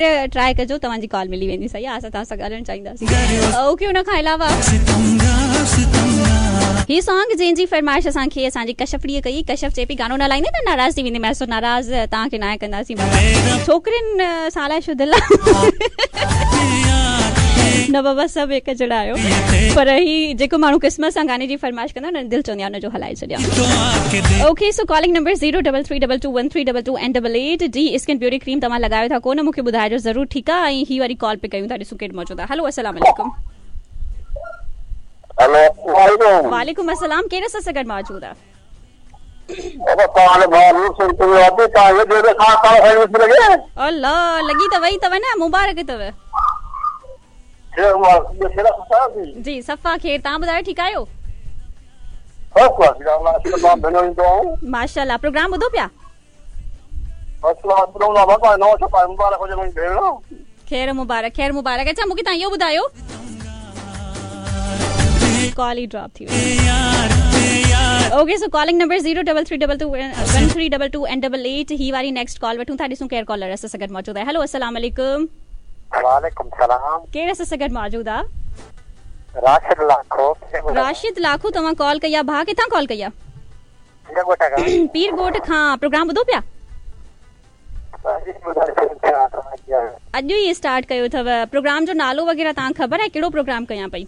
Try ڪجو توهان جي ڪال ملي ويندي صحيح آ اسان توهان سان ڳالهائڻ چاهينداسين اوڪي ان کان علاوه هي سانگ جنهن جي فرمائش اسان کي اسان جي ڪشفڙي ڪئي ڪشف چئي پئي گانو نه هلائيندي ته ناراض ٿي ويندي ميس ناراض توهان کي ناهي ڪنداسين بابا ڇوڪرين سان الائي ڇو دل نه بابا سڀ هڪ جهڙا آهيو پر هي جيڪو ماڻهو قسمت سان گاني جي فرمائش ڪندو آهي نه دل چوندي آهي ان جو هلائي ڇڏيان okay so calling number zero double three double two one three double two and double eight the skin beauty cream توهان لڳايو ٿا ڪونه مونکي ٻڌائجو ضرور ٺيڪ آ ۽ هي واري ڪال پي ڪيون ٿا ڏسون ڪير موجود آ هلو السلام عليڪم. هلو السلام عليڪم. وعليڪم السلام ڪير اسان سان گڏ موجود آ. بابا توهان ڀاء نور سنگهه تنهنجو آدي توهان هي ڏيو ته کان ڪال کڻي نٿي لڳي. الله لڳي ته وئي اٿو نه مبارڪ اٿو. خير مبارڪ ٻيو خير آ سٺا آهيو ٿي. جي صفا خير توهان ٻڌايو ٺيڪ آهيو. فرسٽ ڪلاس الله شڪر تمام ڀيڻو ايندو آهون. ماشاءالله پروگرام ٻڌو پيا. فرسٽ ڪلاس ٻڌو هوندو بابا نئون ڇپا مبارڪ هجي منهنجي ڀيڻ. خير مبارڪ خير مبارڪ اڇا مونکي توهان اهو ٻڌايو ڪال ئي ڊراپ ٿي وئي okay so calling number zero double three double two one three double two and double eight هي واري نيڪسٽ ڪال وٺون ٿا ڏسون ڪير ڪالر اسان سان گڏ موجود آهي هلو السلام عليڪم. وعليڪم سلام. ڪير اسان سان گڏ موجود آ. راشد لاکو. راشد لاکو توهان ڪال ڪئي آ ڀاء ڪٿان ڪال ڪئي آ. پير ڳوٺ کان. پير ڳوٺ کان پروگرام ٻڌو پيا. اڄ ئي اسٽارٽ ڪيو اٿو پروگرام جو نالو وغيره توهان کي خبر آهي ڪهڙو پروگرام ڪيان پئي.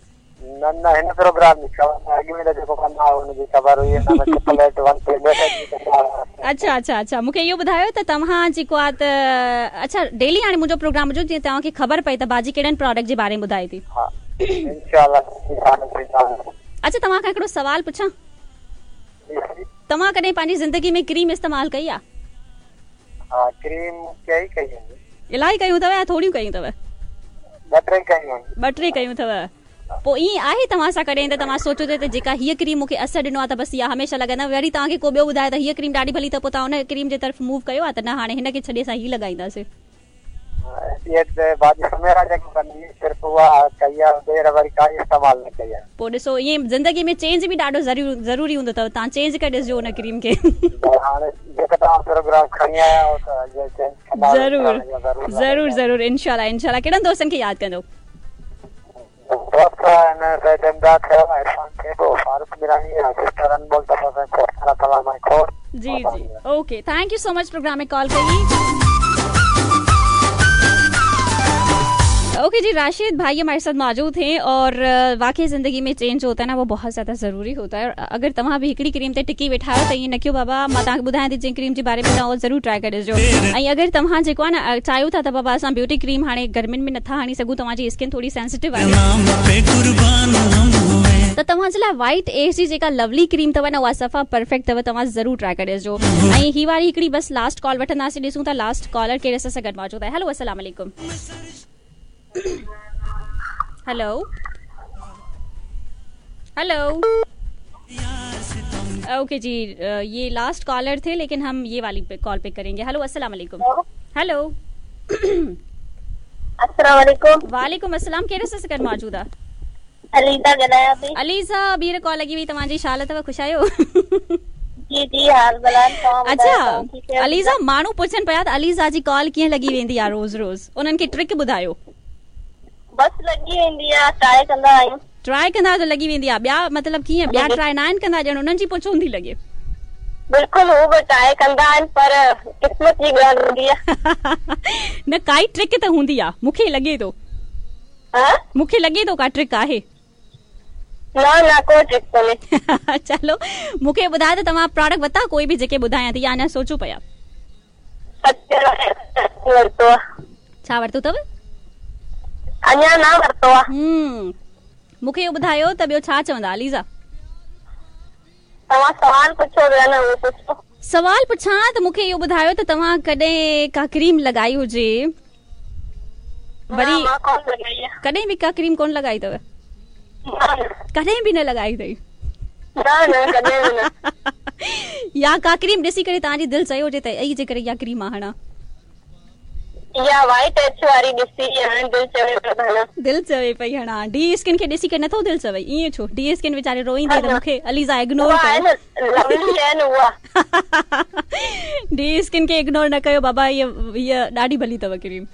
نه نه هن پروگرام جي خبر نه اڳ ۾ ته جيڪو ڪندا هئا ان جي خبر هئي هن ۾ ٽرپل ايٽ ون تي ميسيج به ڪندا هئا. اڇا اڇا اڇا مونکي اهو ٻڌايو ته توهان جيڪو آ ته اڇا ڊيلي هاڻي منهنجو پروگرام ٻڌو جيئن توهان کي خبر پئي ته باجي ڪهڙن پراڊڪٽ جي باري ۾ ٻڌائي ٿي. ها انشاء الله. اڇا توهان کان هڪڙو سوال پڇان. توهان ڪڏهن پنهنجي زندگي ۾ ڪريم استعمال ڪئي آ؟ ها ڪريم ڪئي ڪئي آهن. الاهي ڪيون اٿو يا ٿوريون ڪيون اٿو؟ ٻه ٽي ڪيون آهن. ٻه ٽي ڪيون اٿو. پوء ائين آهي توهان سان ڪڏهن ته توهان سوچيو ته جيڪا هيء ڪريم مون کي اثر ڏنو آهي ته بس اها هميشه لڳائيندم وري توهان کي ڪو ٻيو ٻڌائي ته هيء ڪريم ڏاڍي ڀلي اٿو پوء توهان ان ڪريم جي طرف موو ڪيو آهي ته نه هاڻي هن کي ڇڏي اسان هي لڳائينداسين. ايڊ تي باجي سميرا جيڪو ڪندي هئي صرف اها ڪئي آهي ٻيهر وري ڪائي استعمال نه ڪئي آهي. پوء ڏسو ائين زندگي ۾ چينج به ڏاڍو ضروري هوندو اٿو توهان چينج ڪري ڏسجو ان ڪريم کي. هاڻي جيڪا توهان پروگرام کڻي آيا آهيو ته اڳيان چينج ڪندا ضرور ضرور ضرور انشاء الله انشاء الله ڪهڙن دوستن کي ياد ڪندو. دوست آهن سيد امداد ٿيو عرفان ٿيٻو فاروق ميراڻي ۽ سسٽر انمول تپس ۽ کوڙ سارا سلام ۽ کوڙ جي جي okay thank you so much programme ۾ call ڪئي. اوڪي جي راشد ڀائي هماري ساٿ موجود ٿي اور واقعي زندگي ۾ چينج ہوتا ہے نا وہ بہت زياده ضروري ہوتا ہے اور اگر توهان به هڪڙي ڪريم تي ٽڪي ويٺا آهيو ته ائين نه ڪيو بابا مان توهان کي ٻڌايان ٿي جنهن ڪريم جي باري ۾ توهان ضرور ٽرائي ڪري ڏسجو ۽ اگر توهان جيڪو آهي نه چاهيو ٿا ته بابا اسان بيوٽي ڪريم هاڻي گرمين ۾ نٿا هڻي سگهون توهان جي اسڪن ٿوري سينسيٽو آهي ته توهان جي لاء وائيٽ ايس جي جيڪا لولي ڪريم اٿو نه اها صفا پرفيڪٽ اٿو توهان ضرور ٽرائي ڪري ڏسجو ۽ هي واري هڪڙي بس لاسٽ ڪال وٺنداسين ڏسون ٿا لاسٽ ڪالر ڪير اسان سان گڏ موجود آهي هلو السلام عليڪم هلو هلو اوڪي جي يي لاسٽ ڪالر ٿي ليڪن هم يي والي ڪال پڪ ڪرينگي هلو السلام عليڪم هلو السلام عليڪم وعليڪم السلام ڪير اسان سان گڏ موجود آ عليزا ڳالهايان پئي عليزا ٻيهر ڪال لڳي وئي توهان جي شال اٿو خوش آهيو جي جي حال بلال توهان اڇا عليزا ماڻهو پڇن پيا ته عليزا جي ڪال ڪيئن لڳي ويندي آ روز روز انهن کي ٽرڪ ٻڌايو بس لڳي ويندي آ ٽرائي ڪندا آهيون. ٽرائي ڪندا آهيو ته لڳي ويندي آ ٻيا مطلب ڪيئن ٻيا ٽرائي ناهن ڪندا ڄڻ انهن جي پوء ڇو نٿي لڳي. بلڪل هو به ٽرائي ڪندا آهن پر قسمت جي ڳالهه هوندي آ. نه ڪائي ٽرڪ ته هوندي آ مون کي لڳي ٿو. ها. مون کي لڳي ٿو ڪا ٽرڪ آهي. نه نه ڪو ٽرڪ ڪونهي. چلو مون کي ٻڌايو ته توهان پراڊڪٽ ورتا ڪوئي به جيڪي ٻڌايان ٿي يا اڃا سوچو پيا. ورتو آ. ڇا ورتو اٿو؟ اڃا نه ورتو آ. هم مون کي اهو ٻڌايو ته ٻيو ڇا چوندا عليزا؟ توهان سوال پڇو پيا نه اهو پڇو. سوال پڇان ته مون کي اهو ٻڌايو ته توهان ڪڏهن ڪا ڪريم لڳائي هجي وري نه مان ڪونه لڳائي آ. ڪڏهن به ڪا ڪريم ڪونه لڳائي اٿو؟ نه نه. ڪڏهن به نه لڳائي اٿئي؟ نه نه ڪڏهن به نه. يا ڪا ڪريم ڏسي ڪري توهان جي دل چيو هجي ته اي جيڪر اها ڪريم مان هڻان. اها وائيٽ ايڇ واري ڏسي هاڻي دل چوي پئي ته هڻان. دل چوي پئي هڻان. ڊي اسڪن کي ڏسي ڪري نٿو دل چوي ائين ڇو ڊي اسڪن ويچاري روئيندي ته مون کي عليزا اگنور اها آهي ڪيو. نه لولي آهي نه اها. ڊي اسڪن کي اگنور نه ڪيو بابا هيء هيء ڏاڍي ڀلي اٿو ڪريم.